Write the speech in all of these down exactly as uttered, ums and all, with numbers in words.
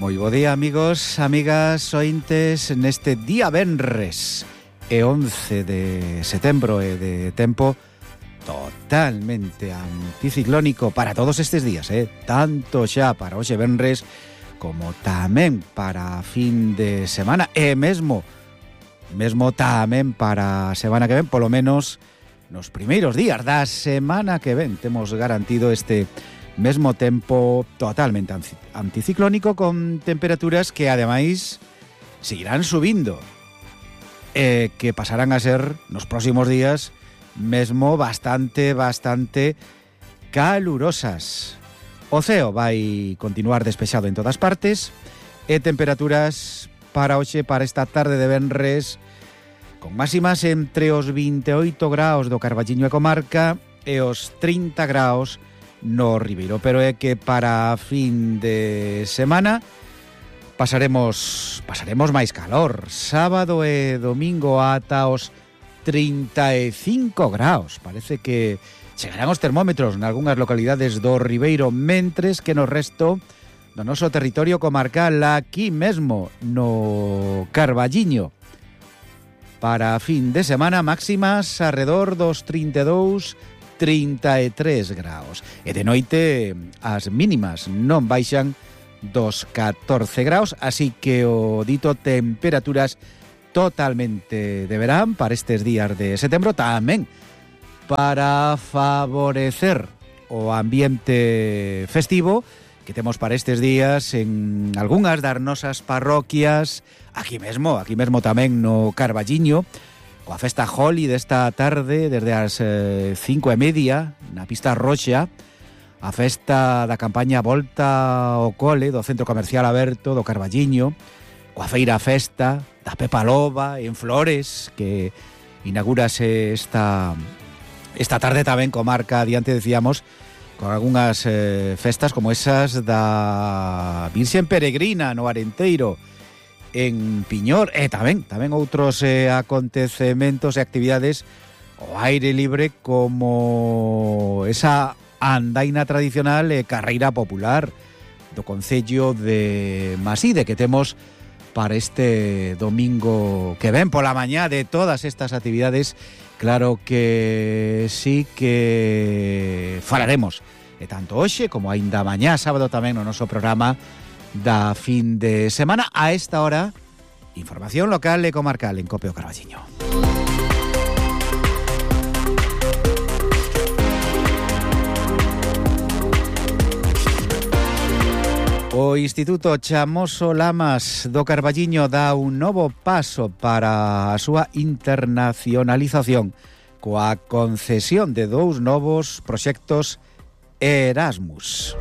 Moi bo día, amigos, amigas, ointes, neste día venres e once de setembro e de tempo totalmente anticiclónico para todos estes días, eh? Tanto xa para hoxe venres como tamén para fin de semana e mesmo mesmo tamén para a semana que ven, polo menos nos primeiros días da semana que ven temos garantido este mesmo tempo totalmente anticiclónico con temperaturas que ademais seguirán subindo e que pasarán a ser nos próximos días mesmo bastante, bastante calurosas. O ceo vai continuar despexado en todas partes e temperaturas para hoxe, para esta tarde de venres, con máximas entre os vinte e oito graus do Carballiño e comarca e os trinta graus no Ribeiro, pero é que para fin de semana pasaremos pasaremos máis calor. Sábado e domingo ata os trinta e cinco graus. Parece que chegarán os termómetros nalgúnas localidades do Ribeiro, mentres que no resto do noso territorio comarcal, aquí mesmo no Carballiño, para fin de semana máximas arredor dos trinta e dous, trinta e tres graus. E de noite as mínimas non baixan dos catorce graus, así que o dito temperaturas totalmente de verán para estes días de setembro, tamén para favorecer o ambiente festivo que temos para estes días en algunhas das nosas parroquias, aquí mesmo, aquí mesmo tamén no Carballiño, coa festa Holi desta tarde, desde as eh, cinco e media, na pista roxa, a festa da campaña Volta ao Cole do Centro Comercial Aberto do Carballiño, coa feira festa da Pepa Loba en Flores, que inaugurase esta, esta tarde tamén comarca, adiante decíamos, con algunhas eh, festas como esas da Virxen Peregrina no Arenteiro, en Piñor, e tamén tamén outros eh, acontecementos e actividades ao aire libre, como esa andaina tradicional e carreira popular do concello de Maside que temos para este domingo que ven pola mañá. De todas estas actividades, claro que sí que falaremos, e tanto hoxe como aínda mañá sábado tamén no noso programa da fin de semana. A esta hora, información local e comarcal en Cope o Carballiño. O Instituto Chamoso Lamas do Carballiño dá un novo paso para a súa internacionalización coa concesión de dous novos proxectos Erasmus.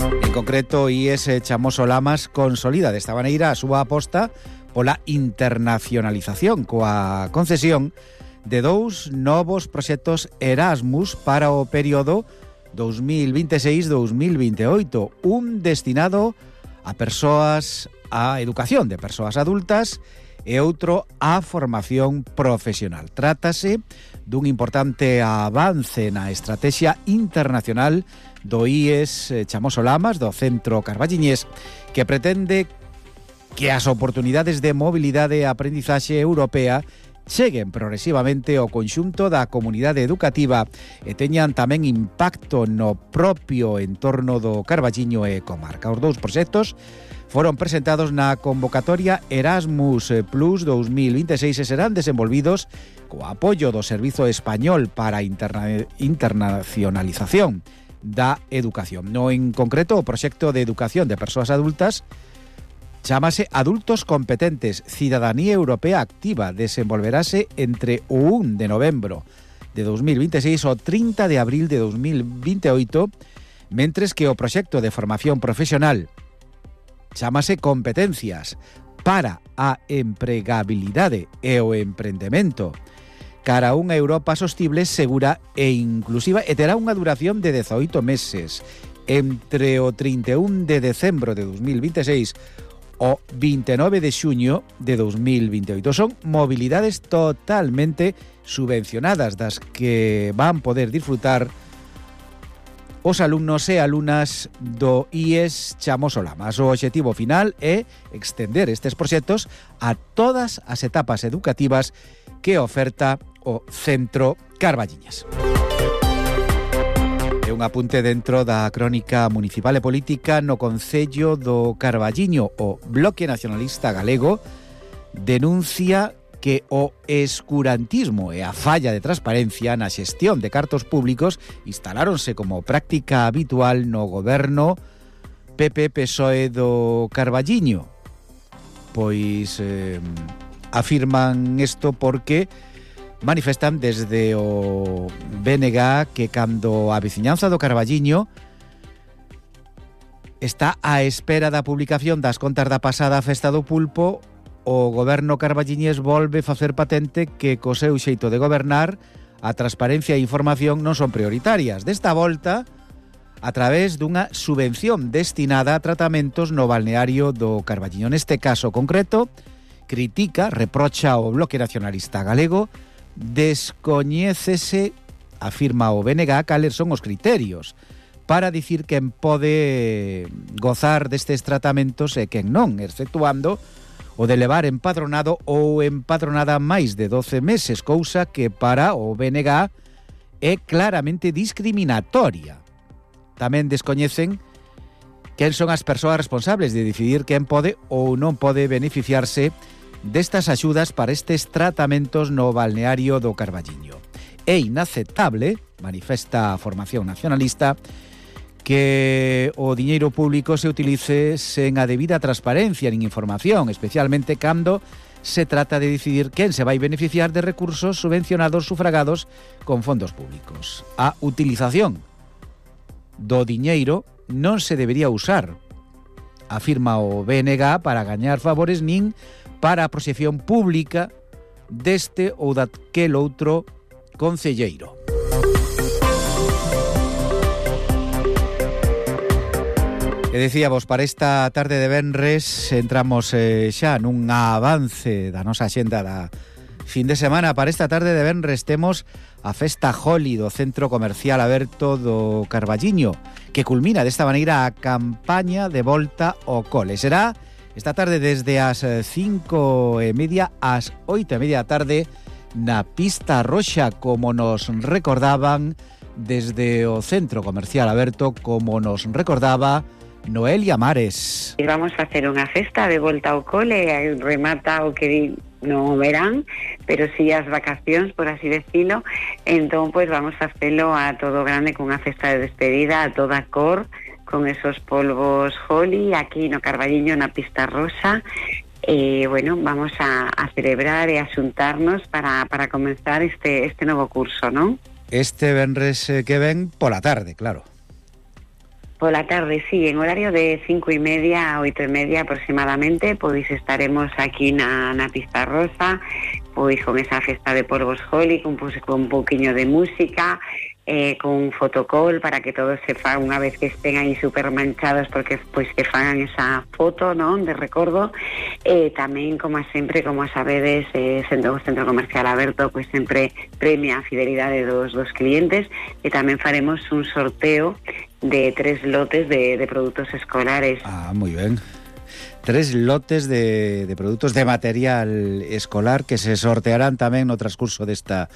En concreto, I S Chamoso Lamas consolida desta maneira a súa aposta pola internacionalización coa concesión de dous novos proxectos Erasmus para o período dos mil vinte e seis dos mil vinte e oito, un destinado a persoas, a educación de persoas adultas e outro a formación profesional. Trátase dun importante avance na estrategia internacional do I E S Chamoso Lamas, do Centro Carballiñés, que pretende que as oportunidades de mobilidade e aprendizaxe europea cheguen progresivamente ao conxunto da comunidade educativa e teñan tamén impacto no propio entorno do Carballiño e comarca. Os dous proxectos foron presentados na convocatoria Erasmus Plus dos mil vinte e seis e serán desenvolvidos co apoio do Servizo Español para a Interna- Internacionalización da Educación. No en concreto, o proxecto de educación de persoas adultas chámase Adultos Competentes, Cidadanía Europea Activa. Desenvolverase entre o un de novembro de dos mil vinte e seis ao trinta de abril de dos mil vinte e oito, mentres que o proxecto de formación profesional chámase Competencias para a empregabilidade e o emprendemento cara a unha Europa sostible, segura e inclusiva, e terá unha duración de dezoito meses entre o trinta e un de decembro de dos mil vinte e seis o vinte e nove de xuño de dos mil vinte e oito. Son mobilidades totalmente subvencionadas das que van poder disfrutar os alumnos e alumnas do I E S Chamosolamas. O obxectivo final é extender estes proxectos a todas as etapas educativas que oferta o Centro Carballiñas. E un apunte dentro da crónica municipal e política no Concello do Carballiño. O Bloque Nacionalista Galego denuncia que o escurantismo e a falla de transparencia na xestión de cartos públicos instaláronse como práctica habitual no goberno P P P S O E do Carballiño. Pois eh, afirman isto porque manifestan desde o B N G que cando a veciñanza do Carballiño está á espera da publicación das contas da pasada festa do pulpo, o goberno carballiñés volve facer patente que co seu xeito de gobernar a transparencia e información non son prioritarias. Desta volta, a través dunha subvención destinada a tratamentos no balneario do Carballiño. Neste caso concreto, critica, reprocha ao Bloque Nacionalista Galego, descoñécese, afirma o B N G, cales son os criterios para dicir quen pode gozar destes tratamentos e quen non, exceptuando o de levar empadronado ou empadronada máis de doce meses, cousa que para o B N G é claramente discriminatoria. Tamén descoñecen quen son as persoas responsables de decidir quen pode ou non pode beneficiarse destas axudas para estes tratamentos no balneario do Carballiño. É inaceptable, manifesta a formación nacionalista, que o diñeiro público se utilice sen a debida transparencia nin información, especialmente cando se trata de decidir quen se vai beneficiar de recursos subvencionados sufragados con fondos públicos. A utilización do diñeiro non se debería usar, afirma o B N G, para gañar favores nin para a proxección pública deste ou daquel outro concelleiro. E dicíamos, para esta tarde de venres entramos eh, xa nun avance da nosa xenda da fin de semana. Para esta tarde de venres temos a Festa Joli do Centro Comercial Aberto do Carballiño, que culmina desta maneira a campaña de volta ao cole. Será esta tarde desde as cinco e media ás oito e media da tarde na Pista Roxa, como nos recordaban desde o Centro Comercial Aberto, como nos recordaba Noelia Mares. Vamos a hacer unha festa de volta ao cole, remata o que no verán, pero sí as vacacións, por así decirlo. Entón, pues vamos a hacerlo a todo grande, con unha festa de despedida a toda cor, con esos polvos Joli, aquí no Carballiño, na Pista Rosa. E, bueno, vamos a, a celebrar e a xuntarnos para, para comenzar este, este novo curso, non? Este venres que ven pola tarde, claro. Pola tarde, sí, en horario de cinco y media a oito y media aproximadamente, pois estaremos aquí na, na Pista Rosa, pois con esa festa de polvos Joli, con, pois, con un pouquiño de música, eh, con un fotocall para que todos se fan, unha vez que estén aí super manchados, porque pois que fagan esa foto, non, de recordo. Eh, tamén, como sempre, como sabedes, eh, sendo o Centro Comercial Aberto, pois sempre premia a fidelidade dos, dos clientes, e tamén faremos un sorteo de tres lotes de, de productos escolares. Ah, moi ben. Tres lotes de, de produtos de material escolar que se sortearán tamén no transcurso desta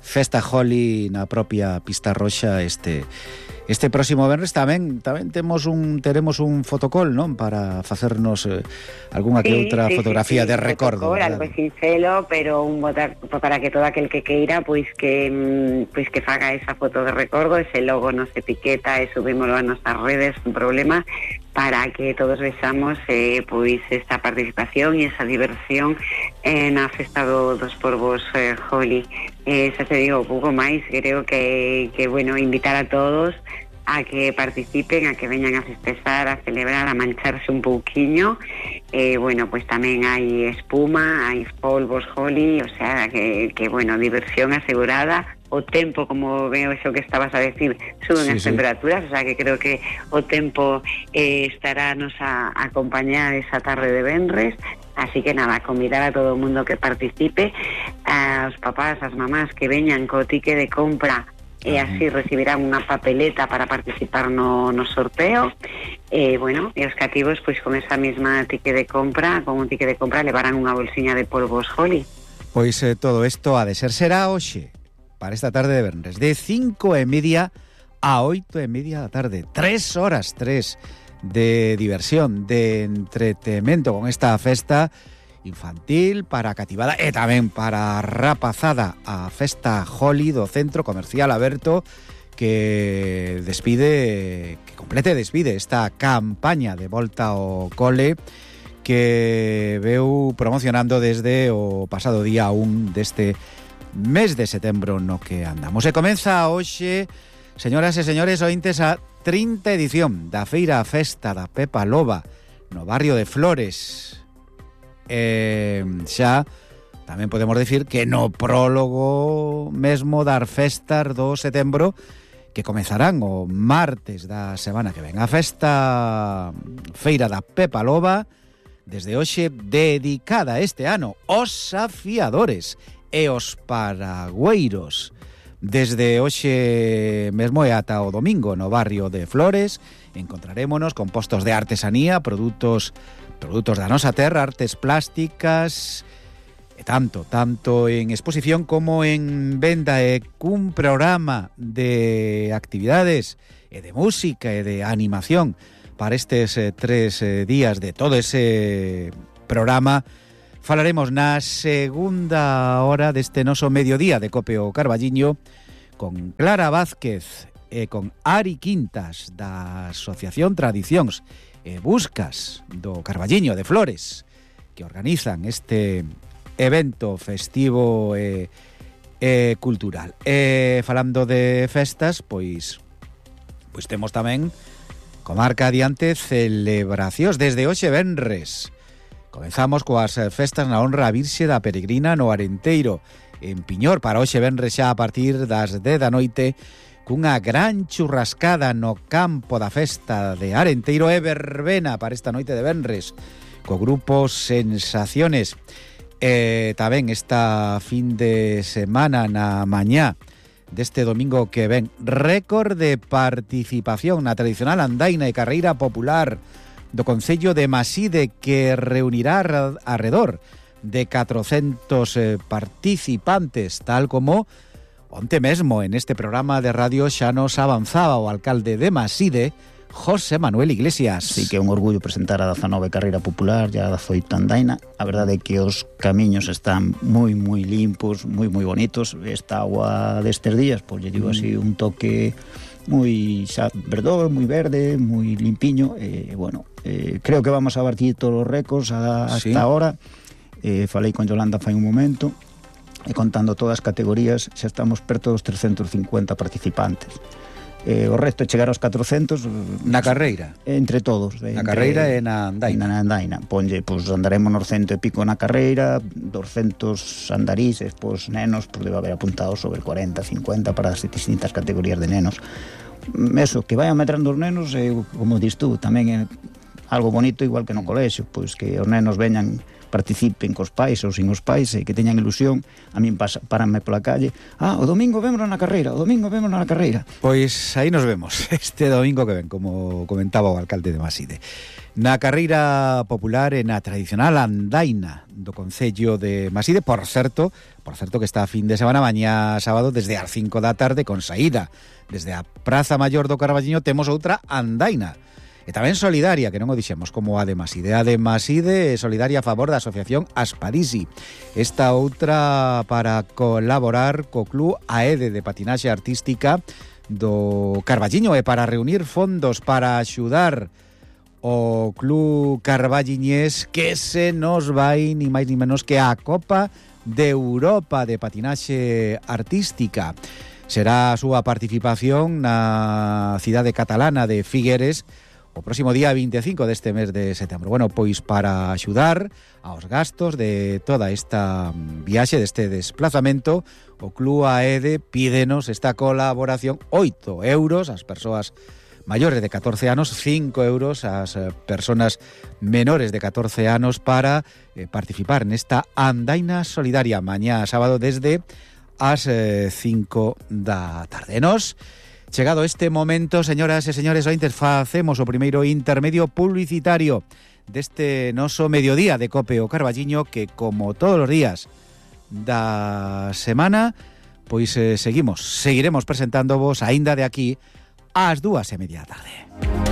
Festa Joli na propia Pista Roxa este este próximo venres. Tamén tamén temos un teremos un fotocall, non, para facernos eh, algunha que sí, outra sí, fotografía sí, sí, de recordo, fotocall, algo sincero, pero un botar, para que todo aquel que queira pois que pois que faga esa foto de recordo, ese logo nos etiqueta e subímoslo a nosas redes sin problema, para que todos vexamos eh, pois esta participación e esa diversión eh, na festa do, dos polvos eh, Joli. Eh, xa te digo, pouco máis, creo que, que bueno, invitar a todos a que participen, a que veñan a festexar, a celebrar, a mancharse un pouquiño. Eh, bueno, pues tamén hai espuma, hai polvos Joli, o sea, que, que bueno, diversión asegurada. O tempo, como veo eso que estabas a decir, suben sí, as sí. temperaturas, o sea que creo que o tempo eh, estará nos a, a acompañar esa tarde de venres. Así que nada, convidar a todo o mundo que participe, aos papás, as mamás que veñan co tique de compra e así recibirán unha papeleta para participar no, no sorteo. E, bueno, e os cativos, pois con esa mesma ticket de compra, con un ticket de compra, levarán unha bolsiña de polvos Holly. Pois eh, todo isto ha de ser será hoxe, para esta tarde de venres, de cinco e media a oito e media da tarde. Tres horas, tres, de diversión, de entretemento con esta festa infantil para cativada e tamén para rapazada, a festa Holly do Centro Comercial Aberto, que despide, que complete e despide esta campaña de volta ao cole que veu promocionando desde o pasado día un deste mes de setembro no que andamos. E comeza hoxe, señoras e señores ointes, a trinta edición da Feira Festa da Pepa Loba no barrio de Flores. E xa tamén podemos decir que no prólogo mesmo das festas do setembro, que comezarán o martes da semana que ven, a festa Feira da Pepa Loba, desde hoxe dedicada este ano aos afiadores e os paragüeiros. Desde hoxe mesmo e ata o domingo no barrio de Flores encontrarémonos con postos de artesanía, produtos produtos da nosa terra, artes plásticas, e tanto, tanto en exposición como en venda, e cun programa de actividades e de música e de animación para estes eh, tres eh, días. De todo ese programa falaremos na segunda hora deste noso mediodía de Cope o Carballiño con Clara Vázquez e con Ari Quintas da Asociación Tradicións e Buscas do Carballiño de Flores, que organizan este evento festivo e, e cultural. E falando de festas, pois pois temos tamén comarca adiante celebracións desde hoxe venres. Comezamos coas festas na honra a Virxe da Peregrina no Arenteiro, en Piñor, para hoxe venres xa a partir das dez da noite, cunha gran churrascada no campo da festa de Arenteiro e verbena para esta noite de venres, co grupo Sensaciones. E tamén esta fin de semana na mañá deste domingo que ven, récord de participación na tradicional andaina e carreira popular do concello de Maside, que reunirá arredor de catrocentos eh, participantes, tal como onte mesmo en este programa de radio xa nos avanzaba o alcalde de Maside, José Manuel Iglesias. Sí, que é un orgullo presentar a dezanove carreira popular e a dezoito andaina. A verdade é que os camiños están moi, moi limpos, moi, moi bonitos. Esta agua destes días, pois lle digo así, un toque moi xa verdor, moi verde, moi limpiño. E, bueno, eh, creo que vamos a batir todos os récords a, hasta sí. Ahora. Eh, falei con Yolanda fai un momento, e contando todas as categorías, xa estamos perto dos trescentos cincuenta participantes. Eh, o resto é chegar aos catrocentos na carreira, entre todos, na entre, carreira e na andaina. Na andaina, ponlle, pois andaremos nos cento e pico na carreira, doscientos andarises, pois nenos, pois debe haber apuntados sobre cuarenta, cincuenta para as distintas categorías de nenos. Eso, que vayan metrando os nenos, eh, como dis tú, tamén é algo bonito, igual que no colexio, pois que os nenos veñan, participen cos pais ou sin os pais, e que teñan ilusión. A min pasa, paranme pola calle, ah, o domingo vémonos na carreira, o domingo vémonos na carreira. Pois aí nos vemos este domingo que ven, como comentaba o alcalde de Maside, na carreira popular e na tradicional andaina do concello de Maside. Por certo, por certo que está a fin de semana, mañá sábado, desde as cinco da tarde, con saída desde a Praza Maior do Carballiño, temos outra andaina, e tamén solidaria, que non o dixemos, como a de Maside. A de Maside é solidaria a favor da asociación Asparisi. Esta outra para colaborar co Club AEDE de patinaxe artística do Carballiño, e para reunir fondos para axudar o Club Carballiñés, que se nos vai ni máis ni menos que a Copa de Europa de patinaxe artística. Será a súa participación na cidade catalana de Figueres o próximo día vinte e cinco deste mes de setembro. Bueno, pois para axudar aos gastos de toda esta viaxe, deste desplazamento, o Club AEDE pídenos esta colaboración, oito euros ás persoas maiores de catorce anos, cinco euros ás persoas menores de catorce anos, para eh, participar nesta andaina solidaria mañá sábado desde ás eh, cinco da tarde. Nos, chegado este momento, señoras e señores ointes, facemos o primeiro intermedio publicitario deste noso mediodía de Cope o Carballiño, que como todos os días da semana, pois eh, seguimos, seguiremos presentándovos aínda de aquí ás dúas e media da tarde.